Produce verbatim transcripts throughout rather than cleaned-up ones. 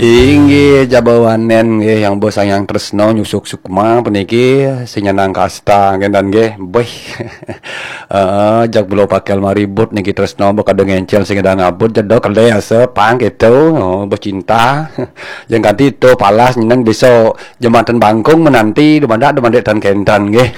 Inggih, jaba wanen nggih, yang bos sayang tresno nyusuk sukma puniki, sing nyenang kasta nggih dan nggih. Beh. Heeh, jak belo pakel maribut niki tresno, beh kada ngencel sing ada ngabut, jedo kele asa pang gitu. Oh, beh cinta. Yang kanti itu palas nyeneng bisa jembatan bangkung menanti, dumadak dumadak tan kentan nggih.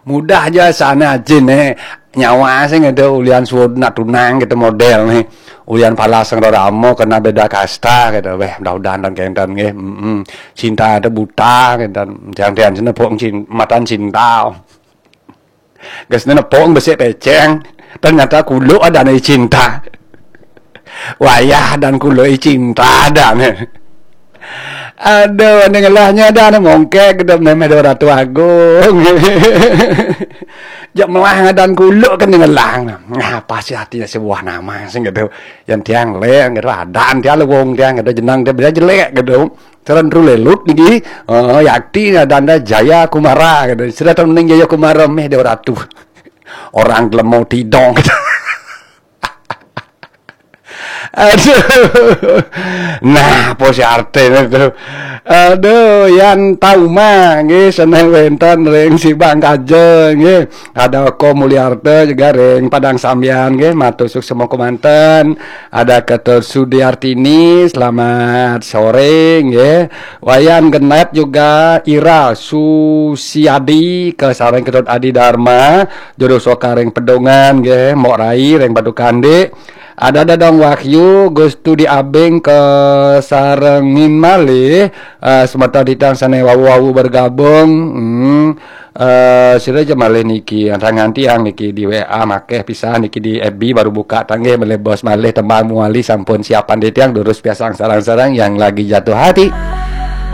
Mudah aja sana jin eh. Nyawa sing ada ulian suud nak tunang gitu model nih. Ulian palas yang ramo kena beda kasta gitu. Weh, mudah-mudahan dan kentan nggih. Mm-mm. Cinta ada buta gitu. Jangan-jangan sini nepung cin-, matan cinta. Gesne nepung besik peceng. Ternyata kuluk ada nih cinta. Wayah dan kuluk cinta ada nih. Aduh, ning elahnya dah nih mongkek gitu, memeh dua ratu agung. Jak melah ngadan kuluk ke ning elah. Nah, apa sih artinya sebuah nama sing gitu. Yang tiang leng gitu, adan tiang lewong tiang gitu, jenang dia beda jelek gitu. Cara nru lelut niki, oh, yakti ngadan dah Jaya Kumara gitu. Sudah tahu ning Jaya Kumara meh dua ratu. Orang gelemo tidong gitu. Aduh. Nah, apa si artine to? Aduh, yan tauma nggih, seneng wenten ring Sibang Kaja nggih. Ada Ko Mulyarta juga ring Padang Sambian nggih, matur suksma kemanten. Ada Ketur Sudiartini, selamat sore nggih. Wayan Genep juga, Ira Susiadi, ke sareng Ketut Adi Dharma, Juru Soka ring Pedungan nggih, Mok Rai ring Batu Kandik. Ada Dadong Wahyu, Gustu di Abing ke sarengin malih, eh, semeton titang sane wau-wau bergabung. Hmm. Eh, sira aja malih niki, tangan tiang niki di W A makeh pisah niki di F B baru buka tanggih malih bos malih tembang muali sampun siapan di tiang durus piasang sarang-sarang yang lagi jatuh hati.